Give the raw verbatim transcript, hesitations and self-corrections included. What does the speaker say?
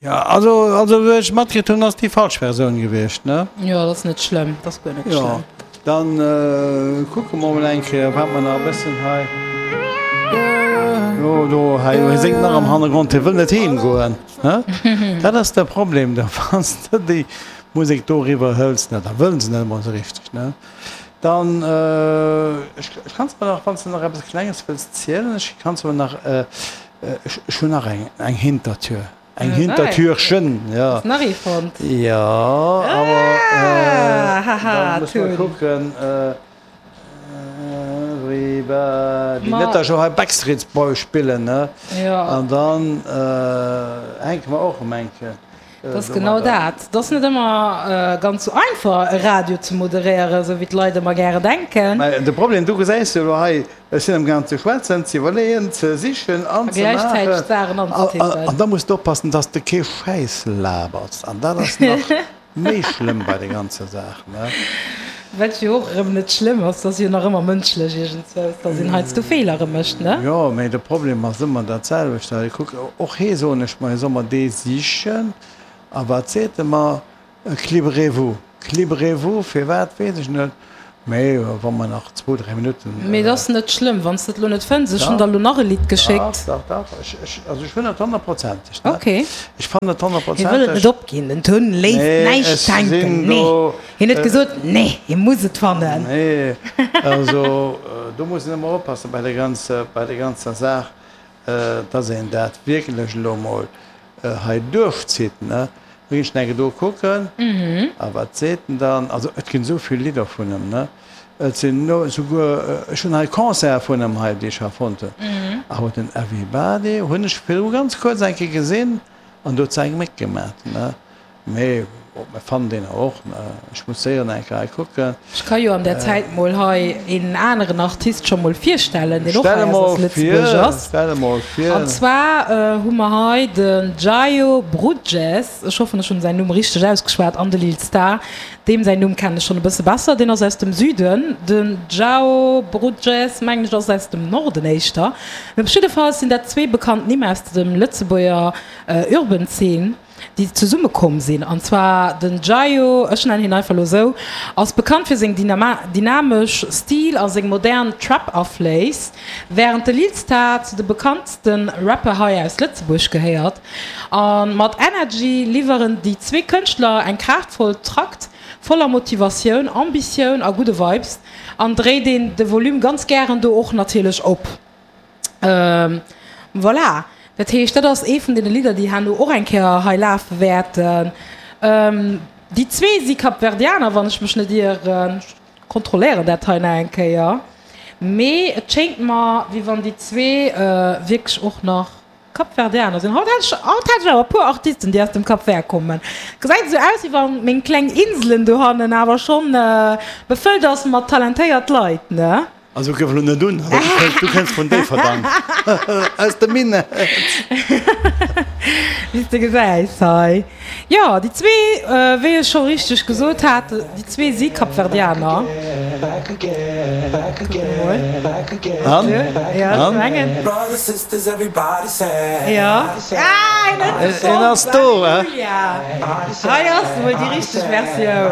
Ja, also, also wéi ech matkritt hunn, ass déi falsch Versioun gewiescht, ne? Jo, dat ass net schlëmm, dat ass guer net Jo, schlëmm. dann kucke mer mol eng Kéier, wat mer nach e bëssen hei. Jo, do, hei, hie séngt nach am Hannergrond, hie wëll net heem goen, ne? Dat ass de Problem do, wann s de déi Musek do eriwwer hëls, ne, da wëllen se net emol esou richteg, ne? Dann, ech, ech kann zwar nach, wann s de nach eppes Klenges wëlls zielen, ech kann zwar nach, ech, ech hunn nach eng, eng Hintertür. Eng Hintertürchen, ja. Hast nach ee fonnt? Ja, awer Ah, haha, da muss mer Tun. kucken. Everybody. Ma Net, datt ech elo hei Backstreet Boys spillen, ne? Ja. An dann hänke mer och ëm eng Kéier Dat ass genau domadder. dat. Et ass net ëmmer ganz sou einfach, e Radio ze moderéieren, sou wéi d'Leit ëmmer gäre denken. Mä de Problem, du gesäis jo elo hei, Ech sinn amgaang ze schwätzen, ze iwwerleeën, ze sichen an A ze maachen. gläichzäiteg d'Saachen anzetippen. An da muss de oppassen, dass de kee Schäiss labers. An dat ass nach méi schlëmm bei der ganzer Saach, ne? Wat jo och erëm net schlëmm ass, dat ass jo nach ëmmer mënschlech iergendzwous, dass een heiansdo Feelere mécht, ne? Jo, mee de Problem ass ëmmer dat selwecht. Kuck, och hee soen ech mer, hie soll mer dee sichen. A wat seet e mer? Klibrez-vous. Klibrez-vous, firwat weess ech net, mee wa mer nach zwou, dräi Minutten. Mee et ass net schlëmm, wann s de et elo net fënns. Ech hunn der elo nach e Lidd geschéckt. Dach, dach, dach, ech, ech, also ech hunn et honnertprozenteg, ne? Ok. Ech fannen et Hie wëll et honnertprozenteg. net opginn, den Tun léisst Nee, näischt ech sinn hänken. Nee, do. hien huet gesot, nee, hie muss et fannen. Nee, also do muss een ëmmer oppassen bei der ganzer, bei der ganzer Saach, dass een dat wierklech elo emol hei duerchzitt, ne? Da ginn ech nach eng Kéier do kucken. A wat seet en dann? Also et ginn esou vill Lidder vun em, ne? Et sinn esouguer, ech hunn hei Concerte vun em hei, déi ech hei fonnt hunn. Awer den Everybody hunn ech virdru ganz kuerz eng Kéier gesinn an do huet se eng Méck gemat, ne? Mee bon, mir fannen deen och, ne? Ech muss séier nach eng Kéier hei kucken. Ech ka jo an där Zäit mol hei een aneren Artist scho mol virstellen, deen och Stell hei e aus mol Lëtzebuerg vir, ass. stell e mol vir. An zwar hu mer hei den Jayo Brugges, ech hoffen ech hunn säin Numm richteg ausgeschwat, an de Lil Star, deem säin Numm kennen ech schonn e bësse besser, deen ass aus dem Süden. Den Jao Brugges mengen ech ass aus dem Norden éischter. Mee op jiddefalls sinn dat zwee bekannt Nimm aus dem Lëtzebuerger Urban Scene. déi zesumme komm sinn, an zwar den Jayo, ech nennen hien einfach elo esou, ass bekannt fir seng dynamesch Stil a seng modern Trap-Afléiss, wärend de Lil Star zu de bekanntste Rapper hei aus Lëtzebuerg gehéiert. A mat Energy liwweren déi zwee Kënschtler eng kraaftvoll Trakt voller Motivatioun, Ambitioun a gudde Vibes, an dréit een de Volume ganz gären do och natierlech op. Voilà, dat heescht, dat ass ee vun deene Lidder, déi herno och eng Kéier hei lafe wäerten. Déi zwee si Kapverdianer, wann ech mech net ieren. Ech kontrolléieren dat hei nach eng Kéier. Mee et schéngt mer, wéi wann déi zwee wierklech och nach Kapverdianer sinn. Haut hat ech, haut hat ech awer e puer Artisten, déi aus dem Cap Vert kommen. Gesäit esou aus, wéi wann meng kleng Inselen dohannen awer schonn befëllt ass mat talentéiert Leit, ne? Also gëff elo net un, du kënns vun Déifferdang, aus dem Minett. Wéi s de gesäis hei. Jo, déi zwee, wéi ech scho richteg gesot hat, déi zwee si Kapverdianer. Kucke mol. An? Jo, ech mengen. Jo. Ah, en huet se En fonnt! ass do, he? Halleluja! Hei ass emol déi richteg Versioun.